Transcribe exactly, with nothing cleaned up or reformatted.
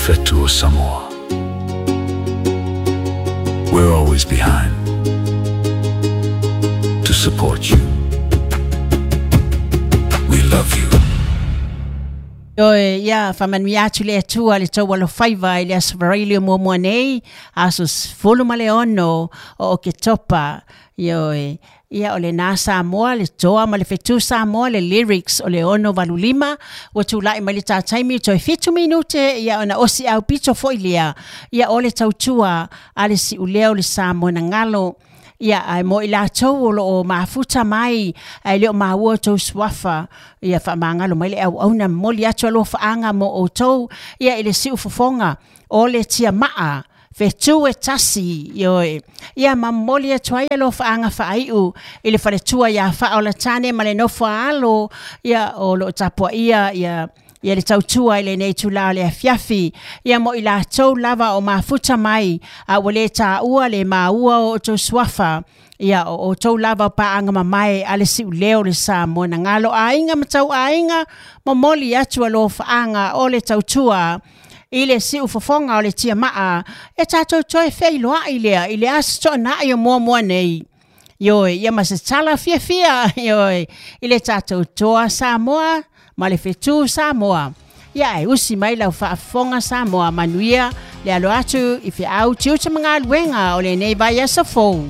Fetu o Samoa. We're always behind to support you. We love you. Ioe, ia, faamanuia atu le Atua le tou alofaiva i le Aso Faraile o muamua nei, aso sefulu ma le ono o Oketopa. Ioe, ia o lena Samoa, le toa ma le fetu Samoa, le lyrics o le ono valu lima, ua tulai mai le tā taimi toe fitu minute, ia ona osi au pito foi lea, ia o le tautua a le siulea o le Samoa na galo. Ia, ae mo i latou o loo mafuta mai, ae le o maua tou suafa, ia faamagalo mai le auauna momoli atu alofaaga mo outou, ia i le siufofoga o le tiamaa, fetu e tasi, ioe. Ia mamoli atu ai alofaaga faaiu i le faletua ia Faaolatane ma le nofo a alo, ia o loo tapuaia, ia ia le tautua i lenei itulā o le afiafi. Ia mo i latou lava o mafuta mai, a ua lē tāua le maua o outou suafa. Ia o outou lava o paaga mamae a le siuleo le Samoa na galo aiga ma tauaiga, momoli atu alofaaga o le tautua i le siufofoga o le tiamaa, e tatou toe feiloai lea i le aso toonai o muamua nei. Ioe, ia ma se tala fiafia, ioe, i le tatou toa Samoa ma le fetu Samoa. Ia e usi mai lau faafofoga Samoa, manuia le alo atu i feau tiute ma galuega o lenei vaiaso fou.